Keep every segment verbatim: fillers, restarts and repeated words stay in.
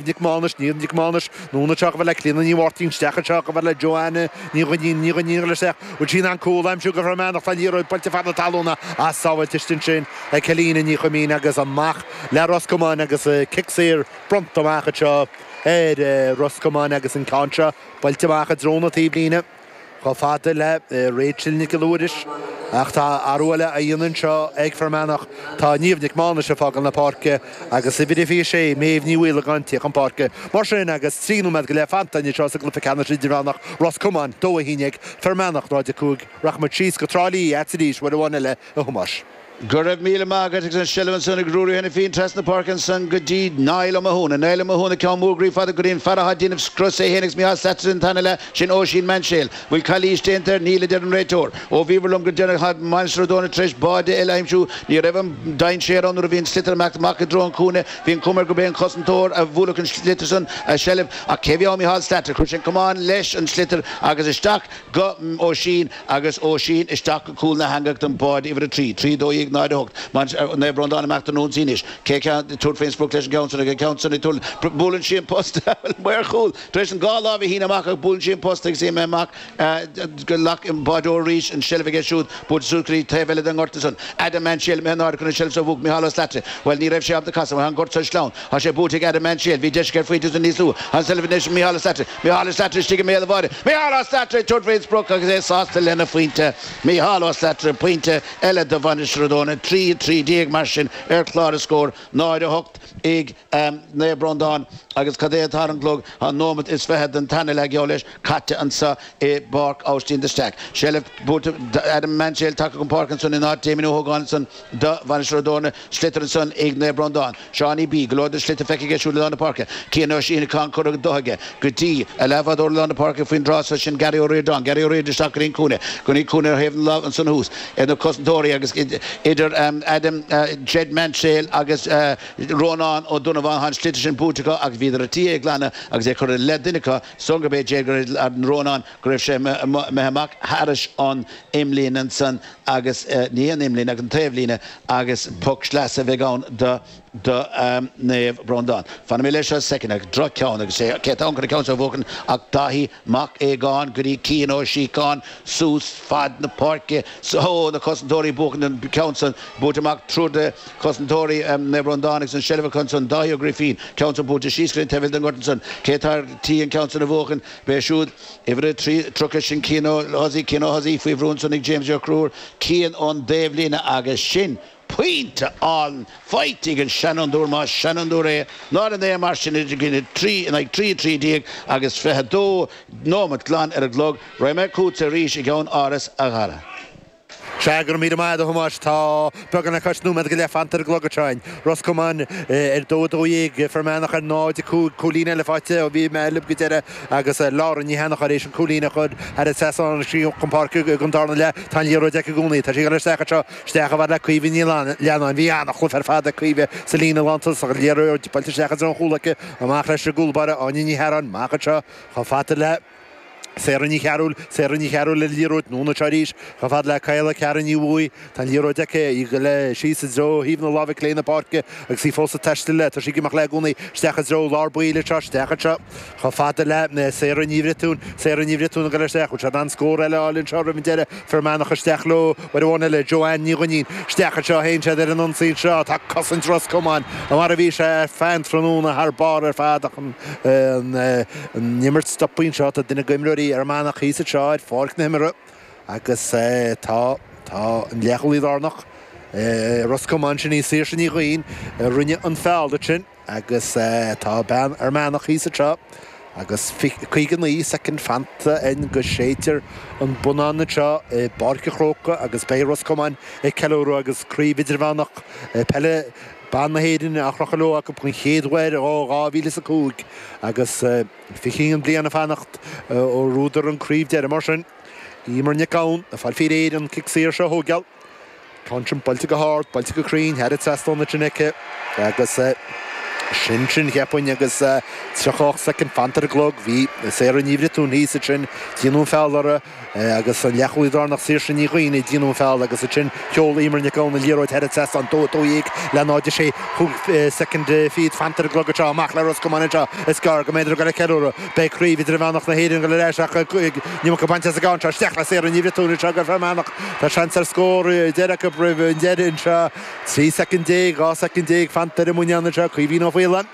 Nic Mánais, Niamh Nic Mánais, anonn anseo chomh fada le Clíona Ní Mháirtín, isteach anseo chomh fada le Joanna Ní Dhuinnín, Ní Dhuinnín ag dul isteach, bhfuil sí in ann cúl a aimsiú do Fhear Manach, tá an liathróid buailte fad na talún as sábháilte ansin ag Celina Ní Chuimín agus amach le Ros Comáin agus cic saor bronnta amach anseo ar Ros Comáin agus an ceann seo buailte amach i dtreo na taobhlíne. Chomh fada le Rachel Nic Giolla Mhuiris, ach tá athrú eile á dhéanamh anseo ag Fear Manach. Tá Niamh Nic Mánais ag fágáil na páirce agus uimhir a fiche sé, Méabh Ní Mhaolagáin, ag tíocht chun páirce. Mar sin, agus trí nóiméad go leith fanta anseo sa gcluiche ceannais idirmheánach, Ros Comáin, dó a haon déag, Fear Manach, náid a cúig, rachaimid síos go Trá Lí arís uair amháin eile, a Thomáis. Go raibh míle maith agat agus an seilbh ansan ag Ruairí Hanafin trasna na páirce ansan go dtí Niall Ó Mathúna. Niall Ó Mathúna ceann mór groí fada go dtí an fear atá ag déanamh scrios é féin agus Micheál Slattery an t-ainm eile, sin Oisín Mainséal. Bhfuil calaois déanta air? Níl, a deir an réiteoir. Ó bhíobhair liom go deireanach tá Mainistir Ó Dónaill tar éis báide eile a aimsiú. Ní raibh an dainséar ann nuair a bhí an sliotar ag imeacht amach i dtreo an chúinne. Bhí an chuma air gurb é an cosantóir a bhuailfeadh an sliotar san a seilbh. Ach cé bhí ann? Micheál Slattery. Chuir sé an camán leis an sliotar agus isteach go Oisín agus Oisín isteach go cúl na heangach don báide uimhir a trí, trí dó dhéag náid a hocht. Naomh Breandán ag imeacht ar an ionsaí anois. Cé ag tabhairt faoin sprioc leis an gceann san ag an gceann san ag tabhairt buaileann sí an post maor chúl tar éis an dhá láimh a shíneadh amach ach buaileann sí an post agus í imithe amach go glac an báideoir arís an seilbh aige siúd buailte suas go dtí taobh eile den ngort ansan. Adam Mansell imithe in airde chun an seilbh so a bhuachan Micheál Ó Slattery. Bhuel ní raibh sé ábalta casadh mar tá an gort so sleamhain. Tá sé buaite ag Adam Mansell. Bhí deis aige ar phointe ansan níos luaithe. Tá an seilbh anois ag Micheál Ó Slattery. Micheál Ó Slattery istigh i mbéal an bháide. Micheál Ó Slattery ag tabhairt faoin sprioc agus é sásta lena phointe. Micheál Ó Slattery, pointe eile do Mhainistir Ó Dónaill. Trí a trí déag mar sin ar chlár na scór. Náid a hocht ag Naomh Breandán agus cad é atá ar an gclog? Tá nóimeat is fiche den tarna leath geall leis caite anseo i bPáirc Aibhistín de Staic. Seilbh buaite Adam Mansell tagtha chun páirce ansan in áit Damien Ó hÓgáin ansan do Mhainistir Ó Dónaill. Sliotar ansan ag Naomh Breandán. Seánie B. Go leor de shliotar feicthe aige siúd i lár na páirce. Cian Ó Síthigh ceann curtha go aige go dtí a leathbhádóir i lár na páirce faoin dtráth so, sin Gary Ó Ríordáin. Gary Ó Ríordáin isteach go dtí an cúinne. Go dtí an cúinne ar thaobh na láimhe ansan thuas ar na cosantóirí agus idir Adam Jed Mansell agus Rónán Ó Donnabháin tá an sliotar sin buaite acu agus bhíodar ar tí é a ghlanadh agus é curtha i leith duine acu is dóigh gurb é Jed Rónán go raibh sé imithe amach thairis an imlíne ansan agus ní an imlíne ach an taobhlíne agus poc sleasa a bheidh ann do do Naomh Breandán. Fanfaidh mé leis seo soicind ach droch-cheann agus sé cé atá ann chun an ceann seo a bhuachan ach Dáithí Mac Aogáin go dtí Cian Ó Síocháin suas fad na páirce so na cosantóirí buachan an ceann san buaite amach triúr de chosantóirí Naomh Breandán agus an seilbh acu ansan Dáithí Ó Grifín ceann san buailte síos go dtí an taobh eile den ngort ansan cé atá ar tí an ceann san a bhuachan b'é siúd Uimhir a trí, tríocha, sin Cian Ó hOsaí, Cian Ó hOsaí faoi bhrú ansan ag James Ó Conchúir, Cian ón dtaobhlíne agus sin pointe álainn faighte ag an seanfhondúir, más seanfhondúir é, náid a naoi mar sin idir trí in aghaidh trí a trí déag agus fiche dó nóimeat glan ar an gclog. Raghaidh mé chugatsa arís i gceann áras, a Dhara. Sea, go raibh míle maith agat, a Thomáis. Tá beagán le cois nóiméad go leith fanta ar an gclog anseo againn. Ros Comáin ar dó a dó dhéag, Fear Manach ar náid a cúig, cúilín eile faighte ó bhí mé libh go deireadh agus Laura Ní Sheanchadha tar éis an cúilín a chur thar an trasnán chun páirce don darna leath. Tá an liathróid aici i gcónaí. Tá sí ag dul isteach anseo, isteach chomh fada le Caoimhe Ní Leannáin. Bhí an-chluiche ar fad ag Caoimhe sa líne lántosach. An liathróid buailte isteach i dtreo an chúil aici. Amach leis an gcúl báire, Áine Ní Shearáin. Amach anseo chomh fada le. Sarah Ní Chearúil, Sarah Ní Chearúil le liathróid anonn anseo arís, chomh fada le Caola Ceara Ní Bhuaidh. Tá an liathróid aici, í ag dul síos i dtreo thaobh na láimhe clé na páirce agus í fós ag taisteal léi. Tá sí ag imeacht léi i gcónaí isteach i dtreo lár baill anseo, isteach anseo chomh fada le Sarah Ní Bhriotúin. Sarah Ní Bhriotúin ag dul isteach. Bhfuil siad in ann scór eile a fháil anseo roimh an deireadh? Fear Manach isteach leo uair amháin eile. Joanne Ní Dhuinnín isteach anseo. Théann siad ar an ionsaí anseo. Tá cosaint Ros Comáin mar a bhí sé ar feadh an tráthnóna thar barr ar fad ach an An imirt stoptha anseo, tá duine d'imreoirí Fhear Manach thíos anseo ar pháirc na himeartha agus tá tá an leathchúlaí lárnach Ros Comáin, sin í Saoirse Ní Dhuinn, a rinne an feall ansin agus tá bean Fhear Manach thíos anseo agus caoga naoi soicind fanta againn go séidtear an bonnán anseo i bPáirc an Chrócaigh agus beidh Ros Comáin ag ceiliúradh agus Craobh Idirmheánach Peile Ban na hÉireann á chrochadh leo acu den chéad uair ó dhá mhíle is a cúig agus fiche haon bliain ag fanacht ó bhuadar an craobh deiridh. Mar sin, Emer Nic Gabhann ag fáil faoi réir an cic saor seo a thógáil. Ceann sin buailte go hard, buailte go cruinn, thar an trasnán ansin aici agus Sin sin cheapfainn agus tríocha ocht soicind fanta ar an gclog bhí Sarah Ní Bhriotúin thíos ansin déanadh an feall uirthi agus an leathchúlaí lárnach Saoirse Ní Dhuinn ag déanamh an feall agus ansin sheol Eimear Nic Gabhann an liathróid thar an trasnán dó dó dhéag le náid a sé cúig soicind fichead fanta ar an gclog anseo amach le Ros Comáin anseo is gearr go mbeidh ag ceiliúradh beidh craobh idirmheánach na hÉireann go leis ach ní go bainte as an anseo isteach le Sarah Ní Bhriotúin anseo go Fear Manach Tá seans ar scór deireadh acu roimh an deireadh anseo trí soicind déag dhá soicind déag fanta ar an muineál anseo Caoimhín Ó Faoláin.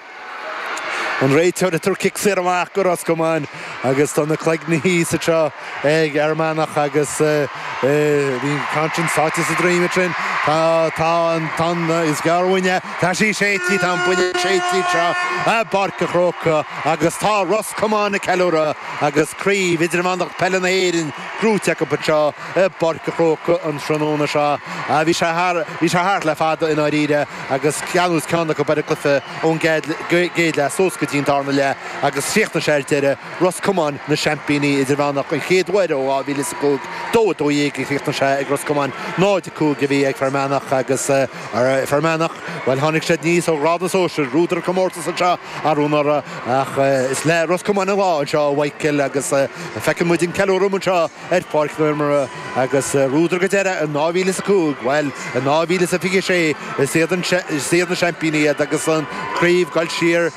An réiteoir ag tabhairt cic saor amach go Ros Comáin agus tá na cloigne thíos anseo ag Fhear Manach agus bhí an ceann sin sáite sa droim sin tá tá an tan is gearrhaine Tá sí séidte tá an buille séidte seo i bPáirc an Chrócaigh agus tá Ros Comáin ag ceiliúradh agus craobh idirmheánach peile na hÉireann gnóthaithe acu anseo i bPáirc an Chrócaigh an tráthnóna seo. Bhí sé thar bhí sé thart le fada i ndáiríre agus ceann ceann acu ar an gcluiche ón gcéad leath suas go dtí an darna leath agus chríochnaigh sé ar deireadh Ros Comáin na seaimpíní idirmheánach an chéad uair ó dhá mhíle is a cúig dó a dó dhéag a chríochnaigh sé ag Ros Comáin náid a cúig a bhí ag Fear Manach agus Fear Manach well tháinig siad aníos ó ghrád na sóisear bhuadar an comórtas anseo arú anuraidh ach is le Ros Comáin an lá anseo a Mhichael agus feiceann muid an ceiliúradh anseo ar Pháirc na hImeartha agus bhuadar go deireadh in dhá mhíle is a cúig well in dhá mhíle is a fiche sé is iad is iad na seaimpíní iad agus an craobh ag dul siar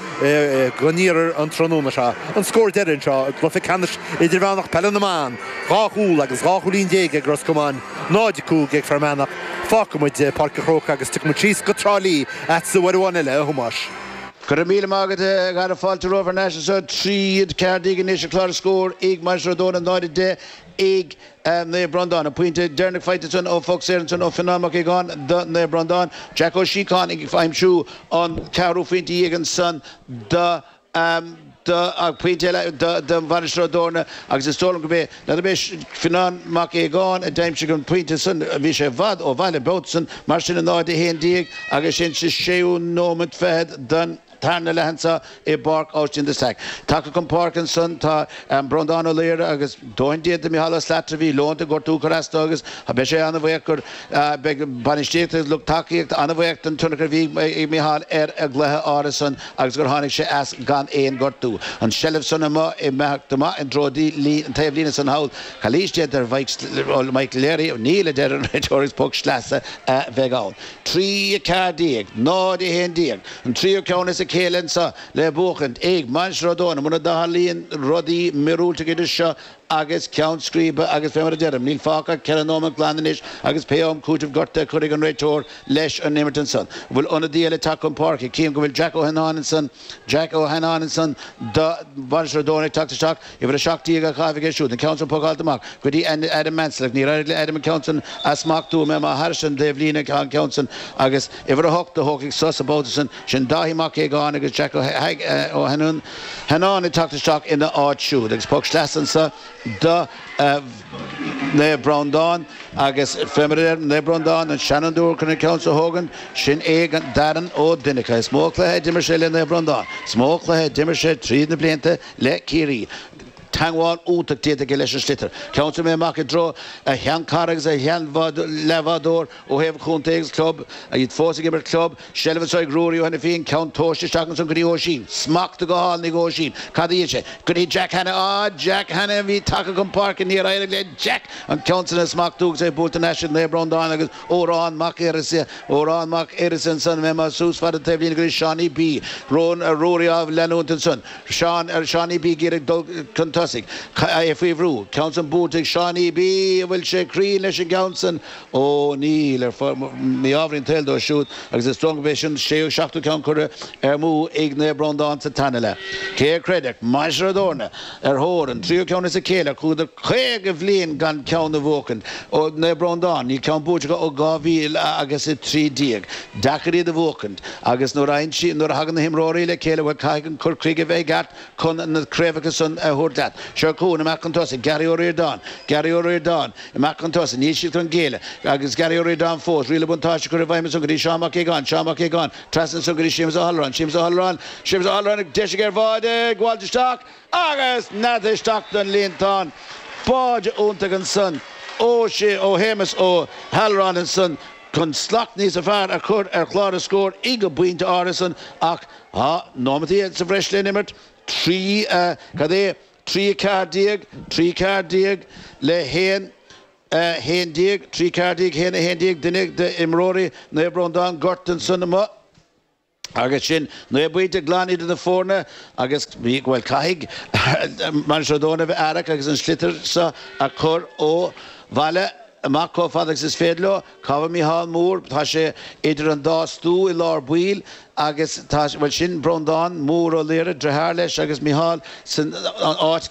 go n-iarthar an tráthnóna seo. An scór deireadh anseo i gcluiche ceannais idirmheánach peile na mban, dhá chúl agus dhá chúilín déag ag Ros Comáin, náid a cúig ag Fear Manach. Fágfaidh muid Páirc an Chrócaigh agus tiocfaidh muid síos go Trá Lí agatsa uair amháin eile a Thomáis. Go raibh míle maith agat a Dhara fáilte romhaibh thar n-ais anseo trí ceathair déag anois an clár scór ag Mainistir Ó dTorna náid a deich ag Naomh Breandán. An pointe deireanach faighte ansan ó phoc saor ansan ó Fionán Mac Aogáin do Naomh Breandán. Jack Ó Síocháin ag aimsiú an ceathrú phointe dhéag ansan do do pointe eile do Mhainistir Ó dTorna agus is dóigh liom gurb é n'fheadar é Fionán Mac Aogáin a d'aimsigh an pointe san bhí sé i bhfad ó bhaile babhta san mar sin a náid a haon déag agus sin sa séú nóiméad fichead den tarna leath anseo i bPáirc Austin de Staic. Tagtha chun páirce ansan tá Breandán Ó Laoire agus dóthain déanta Micheál Ó Slattery bhí leonta gortú cur as dó agus beidh sé an-bhuíoch gur beidh bainistíocht agus lucht tacaíochta an-bhuíoch den tionchar a bhí ag Micheál ar an gcluiche áirithe san agus gur tháinig sé as gan aon gortú. An tseilbh san amuigh ag imeacht amach i dtreo an taobhlíne san thall. Calaois déanta ar Mike Leary, níl a deir an réiteoir agus poc sleasa a bheidh ann. Trí a ceathair déag, náid a haon déag, an tríú ceann as a chéile anseo le buachaint ag Mainistir Ó dTorna muna dtarlaíonn rudaí míorúilteacha idir seo agus ceann scríbe agus fé mar a deirim, níl fágtha ach ceithre nóiméad glan anois agus pé am cúitimh gortaithe a chuirfidh an réiteoir leis an imirt ansan. An bhfuil ionadaí eile tagtha chun páirce? Cím go bhfuil Jack Ó hAnnáin ansan, Jack Ó hAnnáin ansan do Mhainistir Ó dTorna ag teacht isteach, uimhir a seacht déag á chaitheamh aige siúd, an ceann san pucáilte amach go dtí Adam Mansell ach níor éirigh le Adam an ceann san a smachtú, mé má thairis an dtaobhlíne an ceann san agus uimhir a hocht a thógfaidh sos an babhta san, sin Dáithí Mac Aogáin agus Jack Ó hAnnáin ag teacht isteach ina áit siúd agus poc sleasa anso do Naomh Breandán agus fé mar a deir Naomh Breandán an seanfhondúir chun an ceann so a thógaint, sin é Darren Ó Duineacha. Is mó cluiche a d'imir sé le Naomh Breandán, is mó cluiche a d'imir sé tríd na blianta le Ciarraí. Teangmháil iontach déanta aige leis an sliotar. Ceann san amach i dtreo a sheanchara agus a shean-leathbhádóir ó thaobh chontae agus club, iad fós ag imirt club. Seilbh anseo ag Ruairí Ó hAiniféin, ceann tomhaiste isteach ansan go dtí Oisín. Smacht go hálainn ag Oisín. Cad a dhein sé? Go dtí Jack Hanna. Á, Jack Hanna a bhí tagtha chun páirce. Níor éirigh le Jack an ceann san a smachtú agus é buailte thar n-ais ag Naomh Breandán agus Odhrán Mac Uireasa, Odhrán Mac Uireasa ansan, mé suas fad an taobhlíne go dtí Seánie B. Ruairí á leanúint ansan. Seán, Seánie B ag iarraidh dul chun tosaigh. É faoi bhrú. Ceann san buailte ag Seánie B. An bhfuil sé cruinn leis an gceann san? Ó, níl, ar mí-ádh an tsaoil dó siúd agus is dóigh gurb é sin séú, seachtú ceann curtha amú ag Naomh Breandán sa tarna leath. Cé a chreidfeadh? Mainistir Ó dTorna ar thóir an tríú ceann as a chéile, chuadar caoga bhliain gan ceann a bhuachan. Ó Naomh Breandán, níl ceann buaite acu ó dhá mhíle agus a trí déag. Deacair iad a bhuachaint agus nuair a nuair a thagann na himreoirí le chéile, bhuel, caithfidh an cur chuige a bheith i gceart chun na craobhacha san a thabhairt leat. Seo chugainn amach chun tosaigh, Gary Ó Ríordáin, Gary Ó Ríordáin, amach chun tosaigh, níl siad chun géilleadh agus Gary Ó Ríordáin fós, riail an bhuntáiste curtha i bhfeidhm ansan go dtí Seán Mac Aogáin, Seán Mac Aogáin, trasna ansan go dtí Séamus Ó hAlluráin, Séamus Ó hAlluráin, Séamus Ó hAlluráin ag deis aige ar bháide, ag gabháilt isteach agus nead isteach don líontán. Báide iontach ansan ó ó Shéamus Ó hAlluráin ansan chun slacht níosa fearr a chur ar chlár na scór ag an bpointe áirithe san ach Tá nóiméad sa bhreis le n-imirt trí cad é trí ceathair déag trí ceathair déag le haon haon déag trí ceathair déag haon haon déag duine d'imreoirí Naomh Breandán gortaithe ansan amuigh. Agus sin naoi bpointe glan idir na foirne agus bhuel caithfidh Mainistir Ó dTorna a bheith aireach agus an sliotar seo a chur ó bhaile amach chomh fada agus is féidir leo. Cá bhfuil Mícheál Mór? Tá sé idir an dá stua i lár baill agus tá, bhuel sin Breandán Mór Ó Laoire, deartháir leis agus Mícheál san áit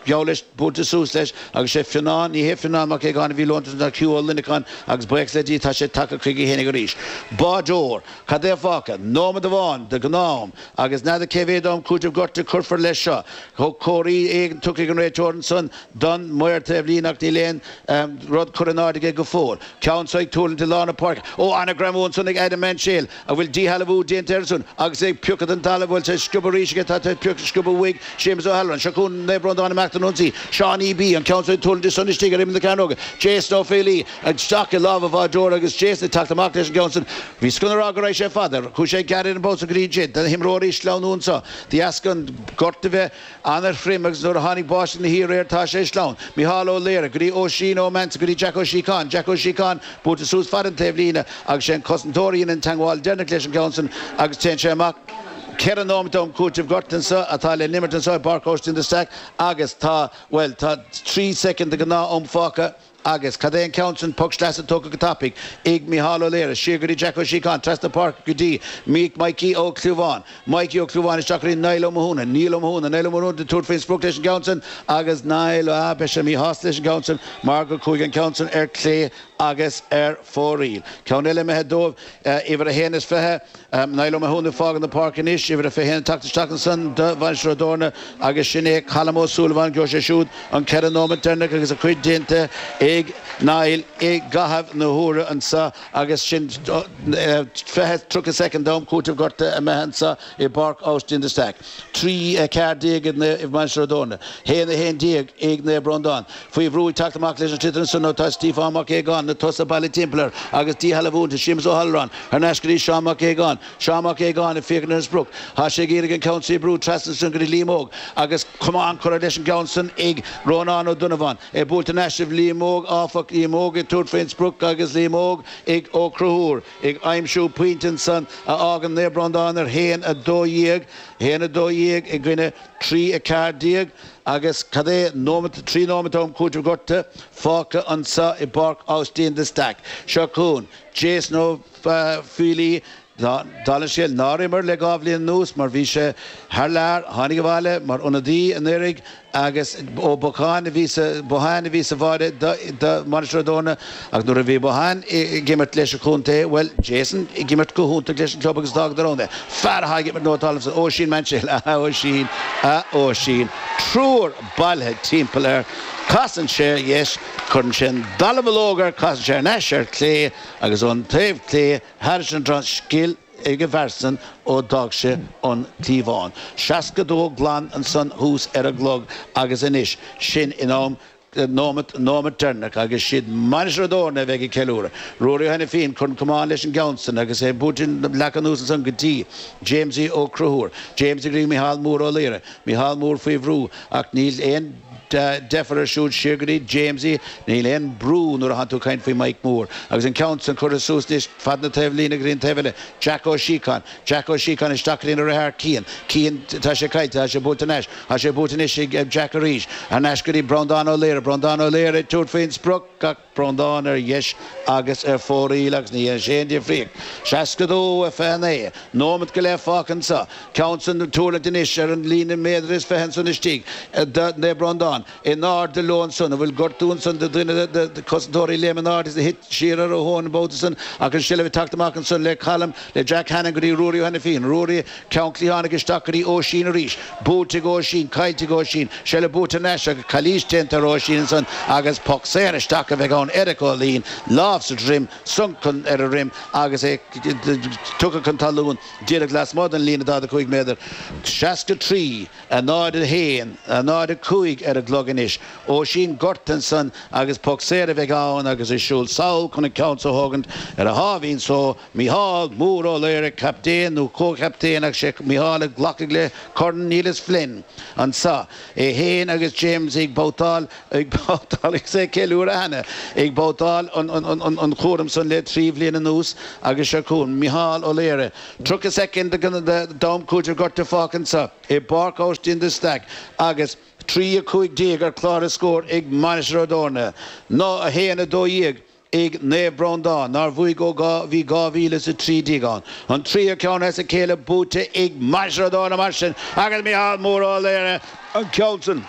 geall leis, buailte suas leis agus sé Fionnán, ní hé Fionnán Mac Aogáin a bhí leonta ná Hugh Ó Luineacháin agus buíochas le Dia tá sé tagtha chuige fhéinig arís. Báideoir, cad é fágtha? Nóiméad amháin de ghnáth-am agus n'fheadar cé mhéad am cúitimh gorta cuirfear leis seo. Comharthaí éigin tugtha ag an réiteoir ansan don maor taobhlíne ach níl aon rud curtha in airde aige go fóill. Ceann seo ag tuirlingt i lár na páirce. Ó, ana-ghreamú ansan ag Adam Mansell a bhfuil díshealbhú déanta air ansan agus é ag piocadh den talamh. Bhfuil sé sciobtha arís aige? Tá sé sciobtha uaidh. Séamus Ó hAlmhain. Seo chugainn Naomh Breandán amach don ionsaí. Seánie B. An ceann seo ag tuirlingt ansan istigh ar imeall na cearnóige. Jason Ó Faolaí isteach i lámha an bháideora agus Jason ag teacht amach leis an gceann san. Bhí sconadh a rá go raibh sé fada. Chuaigh sé gearr ar an bpost go dtí ansin. Do na himreoirí sleamhnú anso. De dheasca an gort a bheith an-throm agus nuair a tháinig báisteach na haréir tá sé sleamhain. Mícheál Ó Laoire go dtí Oisín Ó Mansell go dtí Jack Ó Síocháin. Jack Ó Síocháin buailte suas fad an taobhlíne agus sé an cosantóir a dhein an teagmháil deireanach leis an gceann san agus téann sé amach. Ceithre nóiméad am cúitimh gorta anso atá le n-imirt anso i bPáirc Austin de Staic agus tá, bhuel, tá trí soicind de ghnáth-am fágtha. Agus cad é an ceann sin? Poc sleasa tógtha go tapaidh ag Mícheál Ó Laoire, siar go dtí Jack Ó Síocháin, trasna páirce go dtí Míic Mikey Ó Clúmháin. Mikey Ó Clúmháin isteach go dtí Niall Ó Mathúna. Niall Ó Mathúna, Niall Ó Mathúna ag tabhairt faoin sprioc leis an gceann sin agus Niall, ah, beidh sé míshásta leis an gceann sin mar gur chuaigh an ceann sin ar clé agus ar fóraoil. Ceann eile imithe dóibh, uimhir a haon is fiche, Niall Ó Mathúna ag fágáil na páirce anois, uimhir a fiche haon ag teacht isteach ansan do Mhainistir Ó dTorna agus sin é Colm Ó Súilleabháin, gheobhaidh sé siúd an ceithre nóiméad deireanach agus a chuid déanta ag Niall i gcaitheamh na huaire anso agus sin fiche, tríocha soicind d'am cúitimh gorta imithe anso i bPáirc Austin de Staic. Trí a ceathair déag ag Mainistir Ó dTorna, haon a haon déag ag Naomh Breandán. Faoi bhrú ag teacht amach leis an sliotar ansan nó tá Stiofán Mac Aogáin, na tosaithe bailithe timpeall air agus díshealbhú iontu. Séamus Ó hAlmhráin thar n-ais go dtí Seán Mac Aogáin. Seán Mac Aogáin ag féachaint ar an sprioc. Tá sé ag iarraidh an ceann san a bhrú trasna ansan go dtí Liam Óg agus camán curtha leis an gceann san ag Rónán Ó Donnabháin. É buailte thar n-ais ag Liam Óg áfach, Liam Óg ag tabhairt faoin sprioc agus Liam Óg ag Ó Conchúir ag aimsiú pointe ansan a fhágann Naomh Breandán ar haon a dó dhéag, haon a dó dhéag i gcoinne trí a ceathair déag agus cad é nóimeat, trí nóimeat am cúitimh gorta fágtha anso i bPáirc Austin de Staic. Seo chugainn Jason Ó Faolaí, dála an scéil, nár imir le dhá bhliain anuas mar bhí sé thar lear, tháinig abhaile mar ionadaí anuraidh agus Ó Bocháin a bhí sa Bohane a bhí sa bháide do Mhainistir Ó dTorna ach nuair a bhí Bohane ag imirt leis an chontae, bhuel, Jason ag imirt go hiontach leis an club agus d'fhágadar ann é. Fear atá ag imirt nótáil ansan, Oisín Mansell, a Oisín, a Oisín, triúr bailithe timpeall air, casann sé ar dheis, cuireann sé an dallamullóg air, casann sé thar n-ais ar clé agus ón taobh clé thairis an trasnán, scil ag an bhfear san ó d'fhág sé an cliabhán. Seasca dó glan ansan thuas ar an gclog agus anois sin in am nóimeat, nóimeat deireanach agus siad Mainistir Ó dTorna a bheidh ag ceiliúradh. Ruairí Ó hAiniféin, cuireann camán leis an gceann san agus é buailte leagtha anuas ansan go dtí Jamesie Ó Conchúir. Jamesie go dtí Micheál Mór Ó Laoire. Micheál Mór faoi bhrú ach níl aon deifir air siúd siar go dtí Jamesie. Níl aon brú nuair atánn tú ag caint faoi Mike Mór. Agus an ceann san curtha suas anois fad na taobhlíne go dtí an taobh eile. Jack Ó Síocháin. Jack Ó Síocháin isteach go dtí a dheartháir Cian. Cian, tá sé caillte, tá sé buailte thar n-ais. Tá sé buailte anois ag Jack arís. Thar n-ais go dtí Breandán Ó Laoire. Breandán Ó Laoire ag tabhairt faoin sprioc ach Breandán ar dheis agus ar fóraoil agus ní dhéanann sé aon difríocht. Seasca dó a fiche naoi. Nóimeat go leith fágtha anso. Ceann san ag tuirlingt anois ar an líne méadar is fiche ansan istigh do Naomh Breandán. In airde leo ansan, an bhfuil gortú ansan do dhuine de na cosantóirí léim in airde is a thit siar ar a thóin an babhta san ach an tseilbh ag teacht amach ansan le Colm, le Jack Hannon go dtí Ruairí Ó hAiniféin. Ruairí, ceann cliathánach isteach go dtí Oisín arís. Buailte ag Oisín, caillte ag Oisín. Seilbh buaite thar n-ais agus calaois déanta ar Oisín ansan agus poc saor isteach a bheidh ann. Eric Ó Laoin, lámh sa droim, sonc ar a dhroim agus é tugtha chun talún díreach lasmuigh den líne daichead a cúig méadar. seasca trí, a náid a haon, a náid a cúig ar an an gclog anois. Oisín gortaithe ansan agus poc saor a bheidh ann agus ag siúl sall chun an ceann so a thógaint ar a sháimhín só, Mícheál Mór Ó Laoire, captaen nó comhchaptaen ach sé Mícheál a ghlacfaidh le Corn Neilus Flynn anso. É féin agus James ag babhtáil, ag babhtáil agus é ag ceiliúradh cheana, ag babhtáil an chúram san le trí bhliain anuas agus seo chugainn Mícheál Ó Laoire. Tríocha soicind d'am cúitimh gorta fágtha anso i bPáirc Aibhistín de Staic agus trí a cúig déag ar chlár na scór ag Mainistir Ó dTorna, ná a haon a dó dhéag ag Naomh Breandán, nár bhuaigh ó bhí dhá mhíle is a trí déag ann. An tríú ceann as a chéile buaite ag Mainistir Ó dTorna mar sin agus Mícheál Mór Ó Laoire an ceann san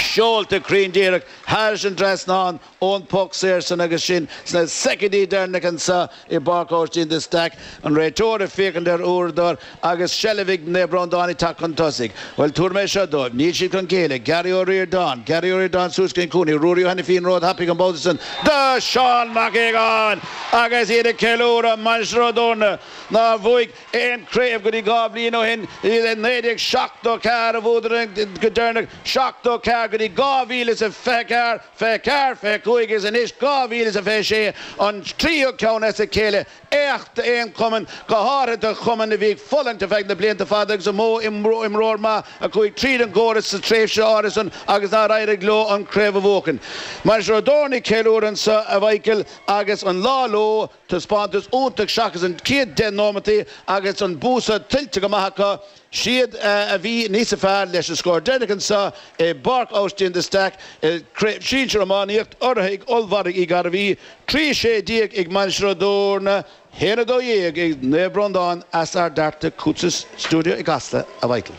seolta cruinn díreach thairis an dtrasnán ón bpoc saor san agus sin sna soicindí deireanacha anso i bPáirc Aibhistín de Staic, an réiteoir ag féachaint ar uaireadóir agus seilbh ag Naomh Breandán ag teacht chun tosaigh. Bhuel, tabharfaidh mé seo dóibh, níl siad chun géilleadh. Gary Ó Ríordáin, Gary Ó Ríordáin suas go dtí an cúinne, Ruairí Ó hAiniféin róthapaidh an babhta san do Seán Mac Aogáin agus iad ag ceiliúradh Mainistir Ó dTorna nár bhuaigh aon chraobh go dtí dhá bhliain ó shin, i naoi déag seachtó ceathair a bhuadar go deireanach, seachtó ceathair go dtí dhá mhíle is a fiche ceathair, fiche ceathair, fiche cúig agus anois dhá mhíle is a fiche sé, an tríú ceann as a chéile, éacht d'aon chumann, go háirithe do chumann a bhí ag fulaingt ar feadh na blianta fada agus an mó imreoir maith a chuaigh tríd an gcóras sa tréimhse áirithe san agus nár éirigh leo an chraobh a bhuachan. Mainistir Ó dTorna ag ceiliúradh anseo, a Mhichael, agus an lá leo, taispeántas iontach seachas an chéad deich nóimeataí agus an bua seo tuillte go maith acu. Siad a bhí níosa fearr leis an scór deireanach anseo i bPáirc Aibhistín de Staic i gCraobh Shinsir Iománaíocht urraithe ag Ollmhargadh Uí Ghairbhí, trí sé déag ag Mainistir Ó dTorna, haon a dó dhéag ag Naomh Breandán as Ard Fhearta chugatsa sa stiúideo i gCasla, a Mhichael.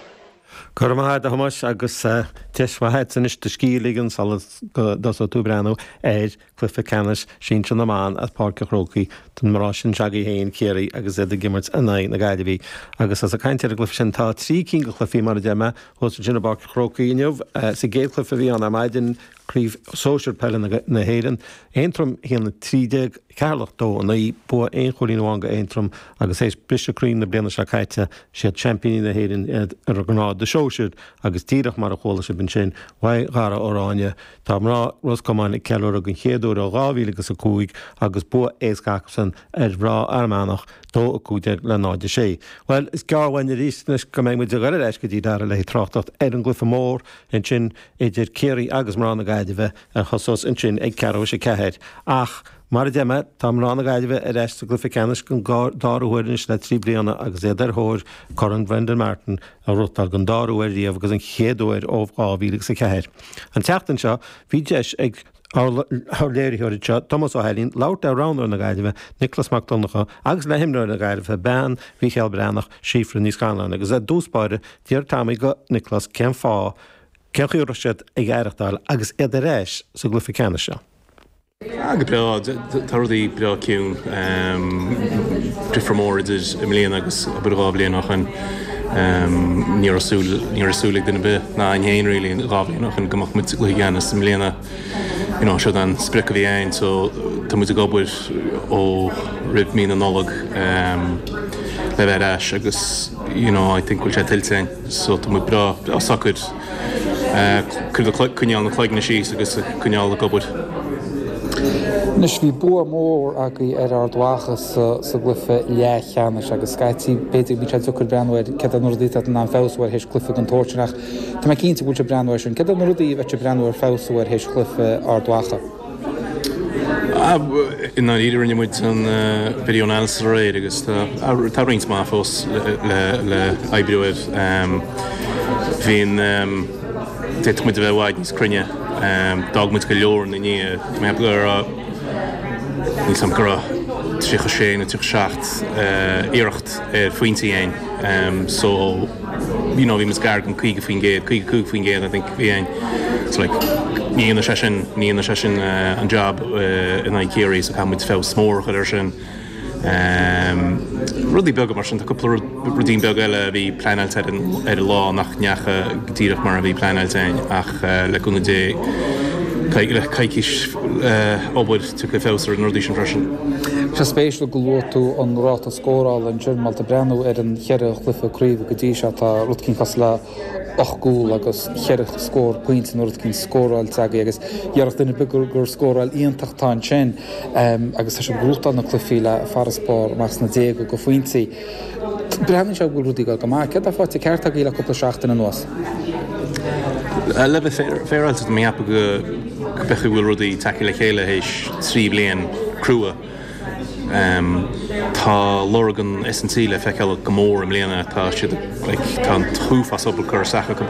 Go raibh maith agat, a Thomáis, agus deis mhaith agat anois do scíth a ligean sula dtosóidh tú ag breathnú ar chluiche ceannais sinsir na mban as Páirc an Chrócaigh don mná sin s'agaibh féin, Ciarraí, agus iad ag imirt in aghaidh na Gaillimhe. Agus as ag caint ar an gcluiche sin, tá trí cinn de chluichí, mar a deir mé, thuas ansin i bPáirc an Chrócaigh inniu. Sa gcéad chluiche a bhí ann ar maidin, Craobh Sóisir Peile na hÉireann, Aontroim a haon a trí déag, Ceatharlach dó a naoi, bua aon chúilín amháin go Aontroim agus théis briseadh croí na bliana seo caite, siad seaimpíní na hÉireann iad ar an ngrád sóisir agus díreach mar a chuala sibh ansin uaidh Dhara Ó Ráinne, tá mná Ros Comáin ag ceiliúradh den chéad uair ó dhá mhíle agus a cúig agus bua éasca acusan ar mhná Fhear Manach, dó a cúig déag le náid a sé. Bhuel, is gearr uainn arís anois go mbeidh muid ag dul ar ais go dtí Dara le haghaidh tráchtaireacht ar an gcluiche mór ansin idir Ciarraí agus mná na Gaillimhe a thosós ansin ag ceathrú théis a ceathair. Ach, mar a deir mé, tá mná na Gaillimhe ar ais sa gcluiche ceannais den dara huair anois le trí bliana agus iad ar thóir Corn Brendan Martin a ghnóthachtáil den dara huair riamh agus an chéad uair ó dhá mhíle agus a ceathair. An tseachtain seo, bhí deis ag ár léiritheoir anseo, Tomás Ó hAilín, labhairt le roghnóir na Gaillimhe, Nioclás Mac Donncha, agus le himreoir na Gaillimhe, bean Mhícheál Breathnach, Síofra Ní Scanláin, agus i dtús báire, d'iarr Tommy go Nioclás cén fáth, cén chaoi a raibh siad ag aireachtáil agus iad ar ais sa gcluiche ceannais seo. Ah, go breá. Tá rudaí breá ciúin. Difear mór idir i mbliana agus abair dhá bhliain ó shin. Ní raibh súil, ní raibh súil ag duine ar bith, ná againn féin really, dhá bhliain ó shin go mbeadh muid sa gcluiche ceannais i mbliana. You know, seo an sprioc a bhí againn so tá muid ag obair ó roimh mí na Nollag le bheith ar ais agus you know, I think go bhfuil sé tuillte againn so tá muid breá, breá socair. Coinneáil na cloigne síos agus coinneáil ag obair. Anois, bhí bua mór agaibh ar Ard Mhacha sa gcluiche leathcheannais agus scaití, b'fhéidir, bíonn sé deacair breathnú ar céard iad na rudaí atá in ann feabhsú air théis cluiche den tsórt sin ach tá mé cinnte go bhfuil sibh ag breathnú air sin. Céard iad na rudaí a bheidh sibh ag breathnú ar feabhsú air théis chluiche Ard Mhacha? I ndáiríre rinne muid an video analysis aréir agus tá roinnt mhaith fós le oibriú air. Bhíonn, d'fhéadfadh muid a bheith i bhfad níos cruinne. D'fhág muid go leor ina ndiaidh. Tá mé ag ceapadh go raibh, níl 's agam, go raibh tríocha sé nó tríocha seacht iarracht ar phointí againn. So. you know bhí muid gar don caoga faoin gcéad, caoga cúig faoin gcéad I think a bhí againn. So like ní dhéanfaidh sé sin, ní dhéanfaidh sé sin an job in aghaidh Ciarraí so caithfidh muid feabhas mór a chur air sin. Rudaí beaga mar sin, tá cúpla rud, ruidín beag eile a bhí pleanáilte ar an, ar an lá nach ndeacha go díreach mar a bhí pleanáilte againn ach le cúnamh Dé Le coicís obair tiocfaidh feabhas ar na rudaí sin freisin. Sé spéisiúil go luaigh tú an ráta scórála ansin má tá breathnú ar an cheithre chluiche craoibhe go dtí seo tá rud éicint cosúil le ocht gcúl agus cheithre scór pointe nó rud éicint scóráilte agaibh agus dhéarfadh duine ar bith gur gur scóráil iontach atá ansin agus tá sibh ag gnóthachtáil na cluichí le farasbarr amach sna déaga de phointí. Breathnaíonn sé go bhfuil rudaí ag dul go maith. Céard atá faighte ceart agaibh le cúpla seachtain anuas? Le bheith féaráilte tá mé ag ceapadh go b'fhéidir go bhfuil rudaí tagtha le chéile théis trí bliain crua. Tá lorg an S&T le feiceáil go mór i mbliana tá siad tá an t-uafás obair curtha isteach acu.